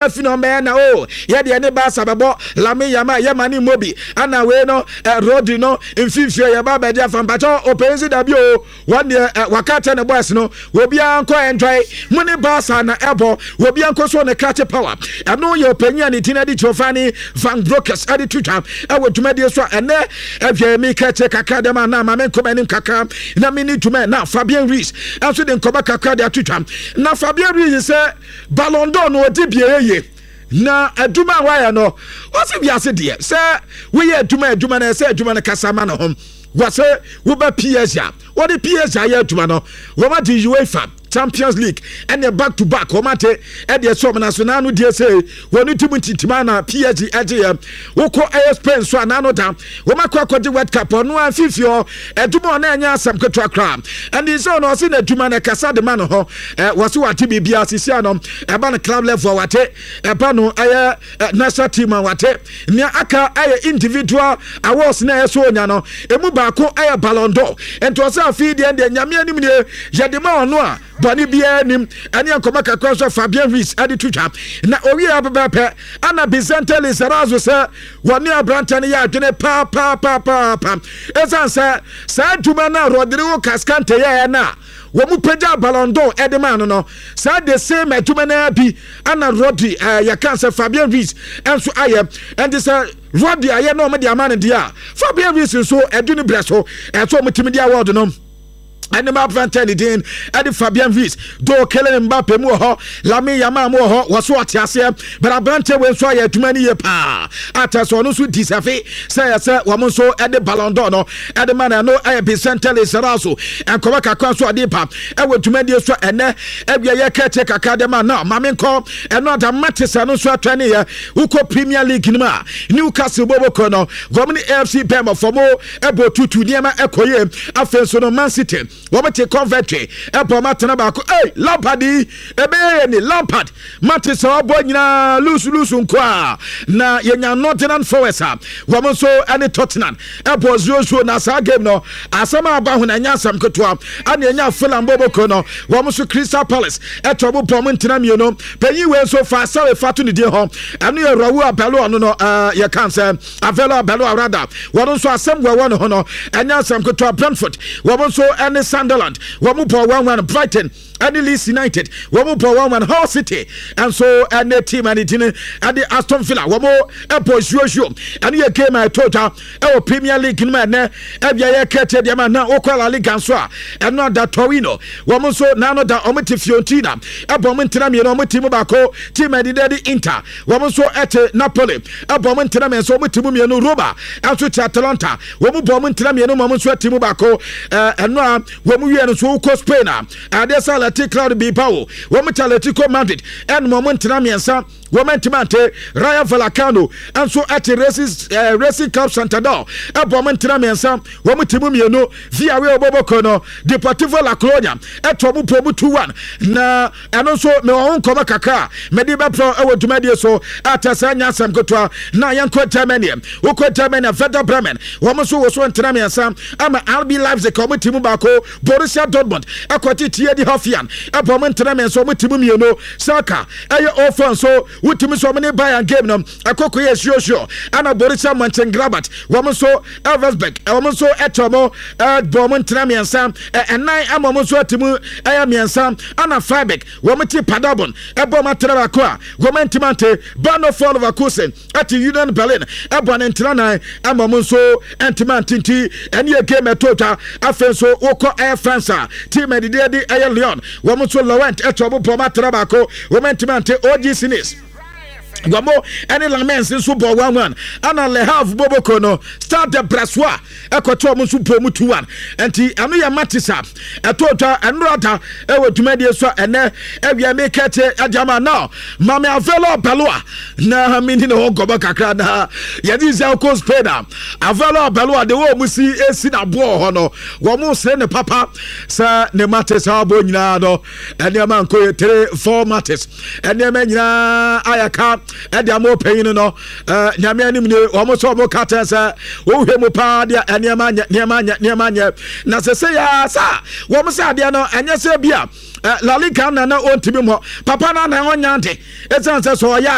Afi na ɔmbɛyɛ na o yɛ deɛ ne Barca bɛbɔ Lamine Yamal yɛ ma ne mmɔ bi ana wei no eh, Rodri no mfimfini yɛ ba bɛgye afa mpakyɛ ɔpɛn si dabi o wɔn deɛ eh, waka kyɛ ne boys no obiara nkɔ enjoy mo ne Barca na ɛbɔ obiara nkɔ so ne krakye power. Ɛno yɛ ɔpanyin a ne din de Giovanni Van Broekers ɛde to dwa ɛwɔ dwumadie so a ɛnɛ ɛhwɛ mi kɛkyɛ kakra dɛm a na ma me nkɔmɔ anim kakra na me ne dwuma na Fabian Ruiz ɛnso de nkɔmɔ kakra de ato dwa na Fabian Ruiz sɛ Ballon d'Or no ɔdi bie yie na adwuma a wayɛ no ɔsi wiase deɛ sɛ woyɛ adwuma adwuma no ɛsɛ adwuma no kasa ma ne ho wɔsɛ woba PSG a wɔde PSG ayɛ adwuma no wɔn agye UEFA Champions League ɛne back to back wɔn ate ɛde ɛsɛ wɔn naso n'ano deɛ sɛ wɔn ti mu ntintima na PSG ɛgye yɛ wokɔ ɛyɛ Spain so a n'ano da wɔn akɔ akɔgye World Cup ɔno a mfimfini hɔ adwuma ɔno ɛnyɛ asɛm ketewa koraa ɛne sɛ ɔno ɔse n'adwuma no ɛkasa de ma no hɔ ɛ wɔse wate biribiara sisi ano ɛba no club level wate ɛba no ɛyɛ national team a wate nea aka ɛyɛ individual awards na ɛyɛ so onya no emu baako ɛyɛ Ballon d'Or nti ɔsɛ afei deɛ deɛ Nyame anim nie yɛde ma ɔno a bɔne biara nim. Ɛne nkɔmɔ kakra nso Fabian Ruiz de to dwa na owie abɛbɛpɛ ana Vicente Lizarazu sɛ wɔne aberantɛ no yɛ adwene paapaapaapaapa ɛsiane sɛ saa adwuma no a Rodrigo Cascante yɛɛ no a wɔn mu pagya Ballon d'Or de maa no saa the same adwuma no bi ana Rodri yɛka sɛ Fabian Ruiz nso ayɛ. Ɛnti sɛ Rodri ayɛ na wɔn de ama no deɛ a, Fabian Ruiz nso ɛdu ne brɛ so ɛsɛ wɔn tumi de award no ɛne ma aberantɛ ne din ɛde Fabian Ruiz do Kylian Mbappe mu wɔ hɔ, Lamine Yamal mu wɔ hɔ, wɔ so ɔte aseɛ but aberantɛ wei nso ayɛ adwuma no yie paa atɛ sɛ ɔno nso deserve sɛ yɛ sɛ wɔn nso ɛde Ballon d'Or no ɛde ma no. Ɛno ɛyɛ Vicente Lizarazu nkɔmɔ kakra nso ɔde ba ɛwɔ dwumadie so ɛnɛ ɛwia yɛ kɛkyɛ kakra de ma na maame nkɔ ɛno ada matches ɛno nso atwa ne yɛ wokɔ Premier League no mu a Newcastle bɔbɔkɔ no wɔn ne AFC Bournemouth fɔmo ɛbɔ tutu nneɛma ɛkɔ yie. Afei nso no Man City wɔn te Coventry ɛbɔ wɔn atena baako. Ei, Lampard yi ɛbɛyɛ yɛ ni Lampard mate sɛ ɔbɔ nyinaa lusu lusu nko a na yɛnya Nottingham Forest a wɔn nso ɛne Tottenham ɛbɔ 0-0 na saa game no asɛm a aba ho na ɛnyɛ asɛm ketewa. Ɛna yɛnya Fulham bɔbɔkɔ no wɔn nso Crystal Palace ɛtɔ mo bɔ mo ntena mmienu. Panyin wei nso fa asɛre fa to ne din hɔ ɛno yɛ Raul Abelo ɔno no ɛɛ yɛka sɛ Avelo Abelo Arada wɔn nso asɛm wɔ ɛwɔ ne ho no ɛnyɛ asɛm ketewa. Brentford wɔn nso ɛne Sunderland wɔn bɔ 1-1. Brighton ɛne Leeds United wɔn bɔ 1-1. Hull City ɛnso ɛne team ɛne din ɛde Aston Villa wɔn ɛbɔ 0-0. Ɛne yɛ game a ɛtɔ dwa ɛwɔ Premier League no mu ɛnɛ ɛbia yɛ kɛtɛ deɛ ma na wokɔ La Liga nso a ɛno ada Torino wɔn nso n'ano da wɔn te Fiorentina ɛbɔ wɔn ntena mmienu wɔn ti mu baako. Team ɛde de Inter wɔn nso ɛte Napoli ɛbɔ wɔn ntena mmiɛnsa wɔn ti mu mmienu. Roma ɛnso te Atalanta wɔn bɔ wɔn ntena mmienu wɔn nso ɛte mu baako. Ɛno a wɔn wie no nso wokɔ Spain a adeɛ sɛ Athletic Club Bilbao wɔn te Atletico Madrid ɛnum wɔn ntena mmiɛnsa wɔn ntoma ante. Rayo Vallecano nso ɛte Racing Club Santander ɛbɔ wɔn ntena mmiɛnsa wɔn ti mu mmienu. Villarreal bɔbɔkɔ no Deportivo La Coruña ɛtɔ wɔn pɔ mu 2-1 na ɛno nso mewɔ ho nkɔmɔ kakra a mede bɛprɛ ɛwɔ dwumadie so atɛ sɛ nyɛ asɛm ketewa. Na yɛnkɔ Germany, wokɔ Germany Werder Bremen wɔn nso wɔ so ntena mmiɛnsa ama RB Leipzig wɔn ti mu baako. Borussia Dortmund ɛkɔgye TAD Hoffenheim ɛbɔ wɔn ntena mmiɛnsa wɔn ti mu mmienu. Schalke ɛyɛ 0-4 nso wotumi nso wɔn ne Bayern game no ɛkɔkɔ yɛ suosuo. Ɛna Borussia Mönchengladbach wɔn nso Elversberg wɔn nso ɛtɔ wɔn ɛbɔ wɔn ntena mmiɛnsa ɛnan ama wɔn nso ɛte mu ɛyɛ mmiɛnsa. Ɛna Freiburg wɔn ti Paderborn ɛbɔ wɔn atena baako a wɔn ntoma nte. Bayer Leverkusen ɛte Union Berlin ɛbɔ ne ntena nan ama wɔn nso ntoma nte nti ɛne yɛ game ɛtɔ twa. Afei nso wokɔ ɛyɛ France a team ɛdidi ɛde ɛyɛ Lyon wɔn nso Lorient ɛtɔ wɔn bɔ wɔn atena baako wɔn ntoma nte. OGC Nice wɔn ɛne Lamens nso bɔ 1-1. Ɛna Le Havre boboko no Stade de Brestois ɛkɔtɔ wɔn nso bɔ mu 2-1 nti ɛno yɛ matches a ɛtɔ dwa ɛnora da ɛwɔ dwumadie so a ɛnɛ ɛwia mi kɛte ɛde ama now Maame Avelo Beloa na mi ni ne ho nkɔmɔ kakra na yɛde sɛ ɔkɔ Spain a Avelo Beloa de wɔn mu si esi na boɔ hɔ no wɔn sere ne papa sɛ ne matches a ɔbɔ nyinaa no ɛnneɛma nkɔ yɛ 3-4 matches ɛnneɛma nyinaa ayɛ ka. Ɛde ama ɔpanyin no, Nyame anim nie, wɔn nso wɔn ka kyɛn sɛ wohwɛ mu paa deɛ, nneɛma nyɛ, nneɛma nyɛ, nneɛma nyɛ. Na sɛ yɛ sa wɔn sɛ adeɛ no ɛnyɛ sɛ bi a La Liga na ɔntumi mmɔ papa no na ɔnya de, ɛsiane sɛ ɔyɛ